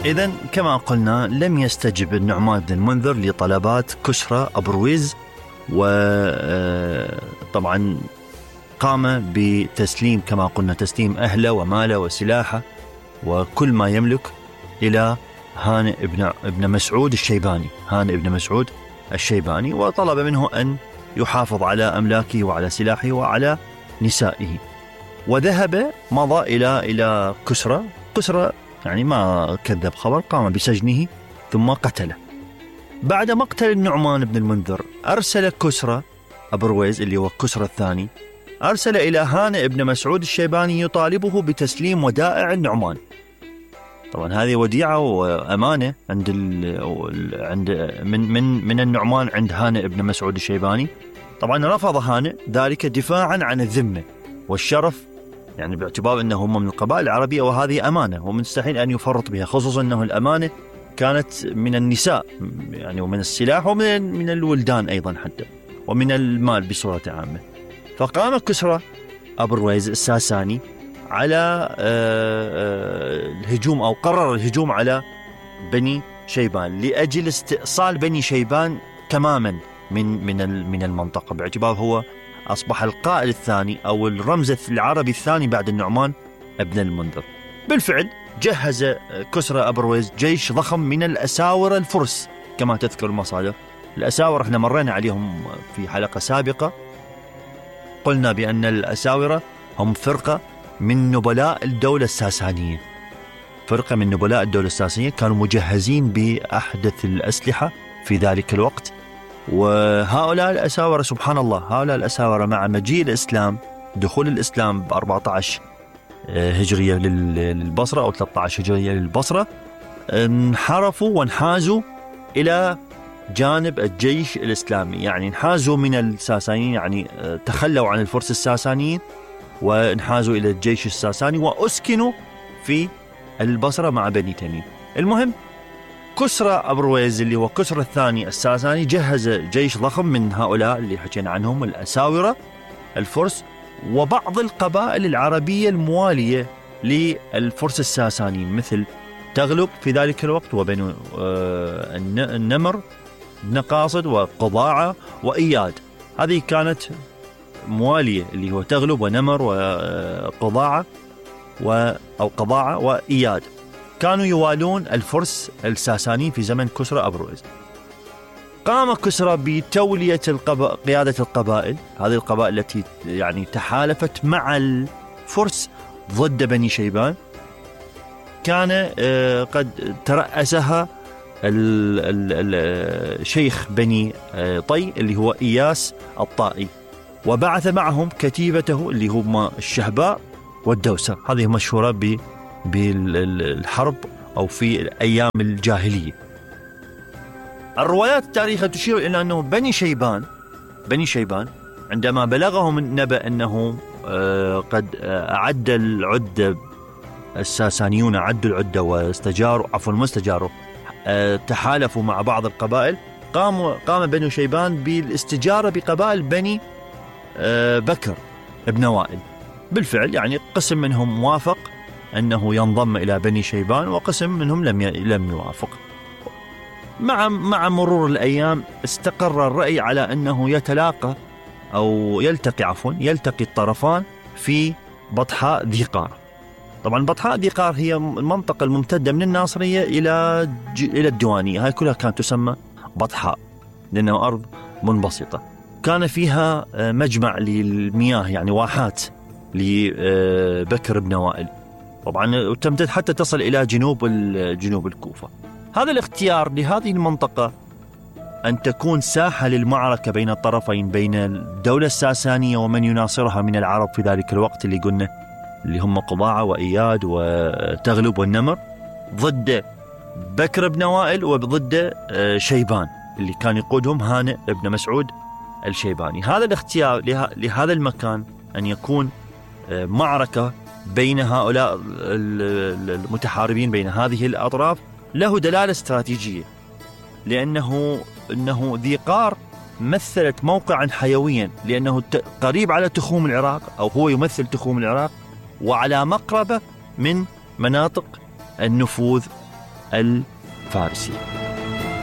إذن كما قلنا لم يستجب النعمان بن المنذر لطلبات كسرى أبرويز، وطبعا قام بتسليم كما قلنا تسليم أهله وماله وسلاحه وكل ما يملك إلى هانئ ابن مسعود الشيباني، هانئ ابن مسعود الشيباني، وطلب منه أن يحافظ على أملاكه وعلى سلاحه وعلى نسائه. وذهب مضى إلى كسرى يعني ما كذب خبر، قام بسجنه ثم قتله. بعد مقتل النعمان بن المنذر أرسل كسرى أبرويز اللي هو كسرى الثاني، أرسل إلى هانئ ابن مسعود الشيباني يطالبه بتسليم ودائع النعمان. طبعا هذه وديعة وأمانة عند من النعمان عند هانئ ابن مسعود الشيباني. طبعا رفض هانئ ذلك دفاعا عن الذمة والشرف، يعني باعتبار أنه هم من القبائل العربية وهذه أمانة ومستحيل أن يفرط بها، خصوصا أنه الأمانة كانت من النساء يعني ومن السلاح ومن الولدان أيضا حتى ومن المال بصورة عامة. فقام كسرى أبرويز الساساني على الهجوم أو قرر الهجوم على بني شيبان لأجل استئصال بني شيبان تماما من المنطقة، باعتبار هو أصبح القائد الثاني أو الرمز العربي الثاني بعد النعمان ابن المنذر. بالفعل جهز كسرى أبرويز جيش ضخم من الأساورة الفرس كما تذكر المصادر. الأساورة احنا مرينا عليهم في حلقة سابقة، قلنا بأن الأساورة هم فرقة من نبلاء الدولة الساسانية، فرقة من نبلاء الدولة الساسانية كانوا مجهزين بأحدث الأسلحة في ذلك الوقت. وهؤلاء الأساورة سبحان الله، هؤلاء الأساورة مع مجيء الإسلام، دخول الإسلام ب 14 هجرية للبصرة أو 13 هجرية للبصرة، انحرفوا وانحازوا إلى جانب الجيش الإسلامي، يعني انحازوا من الساسانيين، يعني تخلوا عن الفرس الساسانيين وانحازوا إلى الجيش الساساني وأسكنوا في البصرة مع بني تميم. المهم كسرى أبرويز اللي هو كسرى الثاني الساساني جهز جيش ضخم من هؤلاء اللي حكينا عنهم الأساورة الفرس وبعض القبائل العربية الموالية للفرس الساسانيين مثل تغلب في ذلك الوقت وبنو النمر بن قاصد وقضاعة وإياد. هذه كانت موالية اللي هو تغلب ونمر وقضاعة أو قضاعة وإياد، كانوا يوالون الفرس الساسانيين في زمن كسرى أبرويز. قام كسرى بتولية قيادة القبائل، هذه القبائل التي يعني تحالفت مع الفرس ضد بني شيبان، كان قد ترأسها الشيخ بني طي اللي هو إياس الطائي، وبعث معهم كتيبته اللي هم الشهباء والدوسة، هذه مشهورة بالحرب أو في أيام الجاهلية. الروايات التاريخية تشير إلى أنه بني شيبان عندما بلغهم النبأ أنه قد أعد العدة الساسانيون أعدوا العدة واستجاروا تحالفوا مع بعض القبائل، قام بني شيبان بالاستجارة بقبائل بني بكر ابن وائل. بالفعل يعني قسم منهم وافق أنه ينضم إلى بني شيبان وقسم منهم لم يوافق. مع مرور الأيام استقر الرأي على أنه يلتقي الطرفان في بطحاء ذي قار. طبعا بطحاء ذي قار هي المنطقة الممتدة من الناصرية إلى الديوانية، هاي كلها كانت تسمى بطحاء لأنه أرض منبسطة، كان فيها مجمع للمياه يعني واحات لبكر بن وائل، طبعا تمتد حتى تصل إلى جنوب الكوفة. هذا الاختيار لهذه المنطقة أن تكون ساحة للمعركة بين الطرفين، بين الدولة الساسانية ومن يناصرها من العرب في ذلك الوقت اللي قلنا اللي هم قضاعة وإياد وتغلب والنمر، ضد بكر بن وائل وضد شيبان اللي كان يقودهم هانئ بن مسعود الشيباني. هذا الاختيار لهذا المكان أن يكون معركة بين هؤلاء المتحاربين بين هذه الأطراف له دلالة استراتيجية، لأنه ذي قار مثلت موقعا حيويا، لأنه قريب على تخوم العراق أو هو يمثل تخوم العراق، وعلى مقربة من مناطق النفوذ الفارسي.